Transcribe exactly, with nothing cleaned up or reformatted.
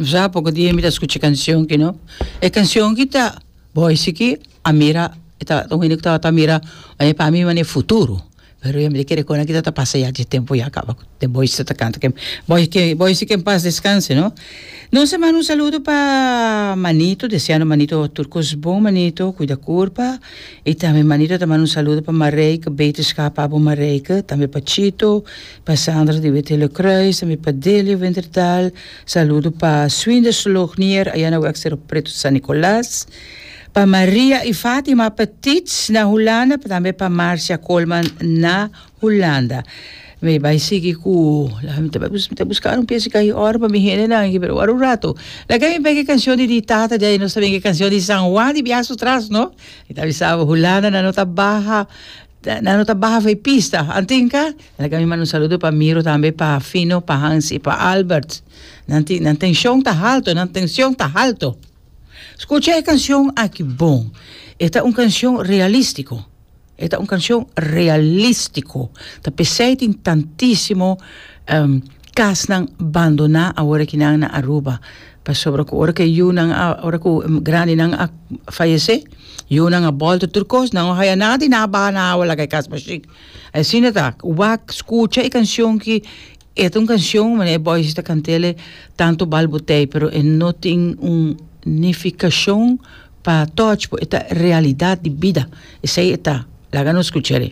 Sa poko dia mi ta skucha kanshon ki no. E kanshon ki ta boys ki a mira ta un hende ku tabata mira e pa mi manera futuro. Pero mi ta kere kon aki ta pasa ya dje tempu ya kaba de boys ta kanta ke boy ke boys ke en paz descanse no. Nos a manda un saludo pa Manito, deseando Manito tur kos bon Manito, kuida kurpa. I tambe Manito ta manda un saludo pa Marijke, beterschap pa bo Marijke, tambe pa Chito, pa Sandra di Wit Kruis, tambe pa Delio Winterdal, saludo pa Swinders Lognier, aya na Weg Cerro Preto San Nicolas, pa Maria i Fatima Petit na Hulanda, tambe pa Marcia Coleman na Hulanda. Mi bai sigui ku mi ta mi ta buska un piesa kai ora pa mi hendenan aki pero ora un rato. Laga mi pega e kanshon di di tata di nos ta bin e kanshon di San Juan di biaha su tras no. Mi ta bisa bo Hulanda nan no ta baha nan no ta baha for e pista. Antinka laga mi manda un saludo pa Miro tambe pa Fino pa Hans i pa Albert. Nan tin nan tenshon ta halto nan tenshon ta halto. Skucha e kanshon aki bon. E ta un kanshon realístiko. E ta un kanshon realístiko. Ta p'esei tin tantísimo um, kasnan bandoná awor akinan na Aruba. Pasobra ku ora ku e yunan a ora ku grandinan a fayesé, yunan a bòlta tur kos, nan no haya nada i nan a baha na awa laga e kas bashí. Asina ta, wak skucha e kanshon ki e ta un kanshon manera e boys ta kant'el tantu bal botei, pero e no tin un nifikashon pa touch bo, e ta realidat di bida. Esei e ta. Laga nos skuch'e.